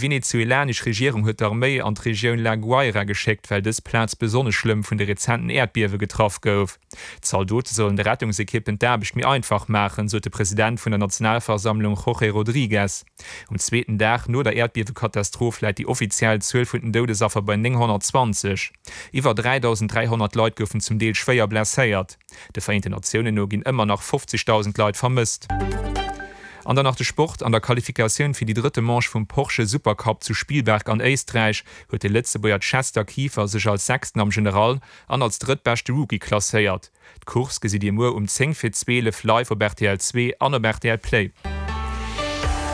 Venezuelanesch Regierung huet d'Arméi an d'Regioun La Guaira geschéckt, well dës Plaz besonnesch schlëmm vun de rezenten Äerdbiewe getraff gouf. D'Zaldote sollen de Rettungsekippen d'Aarbecht méi einfach maachen, sot de President vun der Nationalversammlung Jorge Rodriguez. Um zweeten Dag no der Äerdbiewekatastroph läit déi offiziell Zuel vun den Doudesaffer bei 920. Iwwer 3.300 Leit goufen zum Deel schwéier blesséiert. De Vereenten Natiounen no ginn ëmmer nach 50.000 Leit vermësst. An dann nach de Sport, An der Qualifikatioun fir déi drëtte Manche vum Porsche Supercup zu Spielberg an Éisträich huet de Lëtzebuerger Chester Kieffer sech als Sechsten am General an als drëttbeschte Rookie klasséiert. D'Course gesitt Dir muer um 10 fir 12 live op rtl 2 an op rtl Play.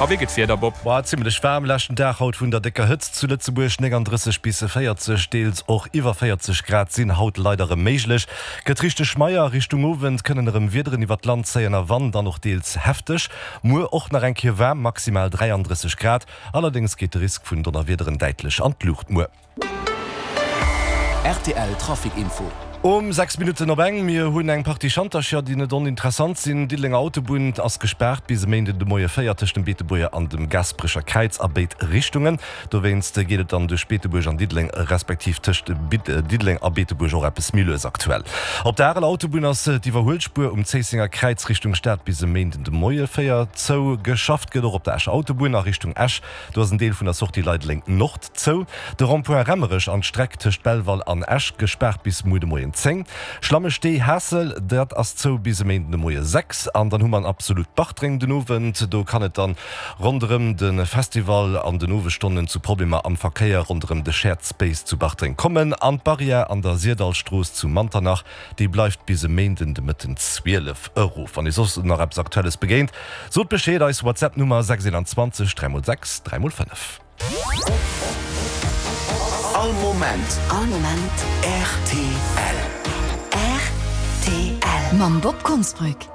A wéi gëtt d'Wieder, Bob? War zimmlech waarm leschten Dag haut vun der décker Hëtzt zu Lëtzebuerg, 39 bis 40, deels och iwwer 40 Grad sinn haut leider erëm méiglech. Gëtt richteg schmeier, Richtung Owend kënnen erëm Wiederen iwwer d'Land zéien a wann dann och deels hefteg. Muer och nach eng Kéier waarm, maximal 33 Grad, allerdéngs geet de Risk vun Donnerwiederen däitlech an d'Luucht muer. Rtl Trafic Info. Um 6 Minutten op eng, mir hunn eng Partie Schantercher, déi net oninteressant sinn. D'Diddelenger Autobunn ass gespaart bis e Méinden de Moie 4 tëscht dem Beetebuerger an dem Gasperecher Kräiz a béid Richtungen. Dowéinst geet et dann duerch Beetebuerg an Diddeleng, respektiv tëscht Diddeleng a Beetebuerg och eppes méi lues aktuell. Op der Areler Autobunn ass d'Iwwerhuelspuer um Zéissenger Kräiz Richtung Stad bis e Méinden de Moie 4 zou. Geschafft gëtt och op der Escher Autobunn a Richtung Esch. Do ass en Deel vun der Sortie Leideleng Nord zou. De Rond-point Remmerech an d'Streck tëscht Belval an Esch gespaart bis muer de Moien 10. Schlammestee Haassel, dat ass zou bis e Méinden de Moie 6. An dann hu mer an Absolut Bartreng den Owend. Do kann et dann ronderëm de Festival an den Owesstonnen zu Problemer am Verkéier ronderëm de Shared Space zu Bartreng kommen. An d'Barrière an der Syrdallstrooss zu Manternach, déi bleift bis e Méinden de Mëtten 12 erof. Wann Iech soss nach eppes Aktuelles begéint, Sot Bescheed, eis WhatsApp Nummer 621 3 x 6 3 x 5. All Moment. All Moment. Rtl. Rtl. Mam Bob Konsbrück.